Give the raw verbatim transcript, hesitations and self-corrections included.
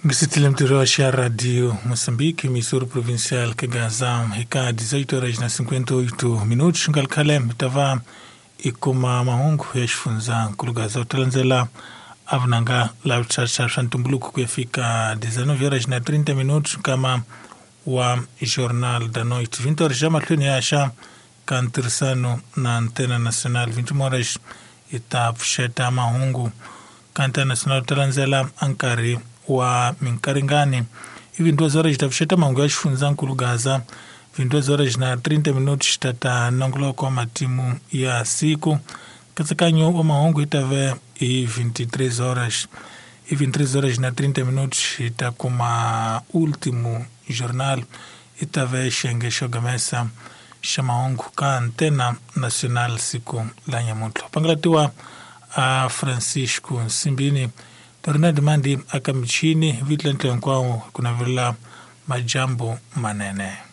Ngisitile mtirho xa Radio Moçambique, emissora provincial ka Gaza, eka dezoito horas na cinquenta e oito minutos. Ngalkhale mi ta va i kuma mahungu ya xifundzankulu Gaza u ta landzela a vunanga la swa swa ntumbuluko ku ya fika dezenove horas na trinta minutos nkama wa Jornal da Noite. vinte horas já mahlweni ya xa ka ntirhisano na Antena Nacional. vinte e uma horas i ta pfuxeta mahungu ka Antena Nacional u ta landzela a nkarhi wa minkaringani. I vinte e duas horas ta pfuxeta mahungu ya xifundzankulu Gaza. vinte e duas horas na trinta minutos ta ta nongoloko wa matimu ya siku. Nkatsakanyo wa mahungu yi ta ve hi vinte e três horas. I vinte e três horas na trinta minutos hi ta kuma último jornal i ta ve xiyenge xo gamesa xa mahungu ka Antena Nacional siku la nyamuntlha. Pangalatiwa a Francisco Nsimbini, Ronald Mandi aka michini vitla ntlo hinkwawo ku navelela majambu manene.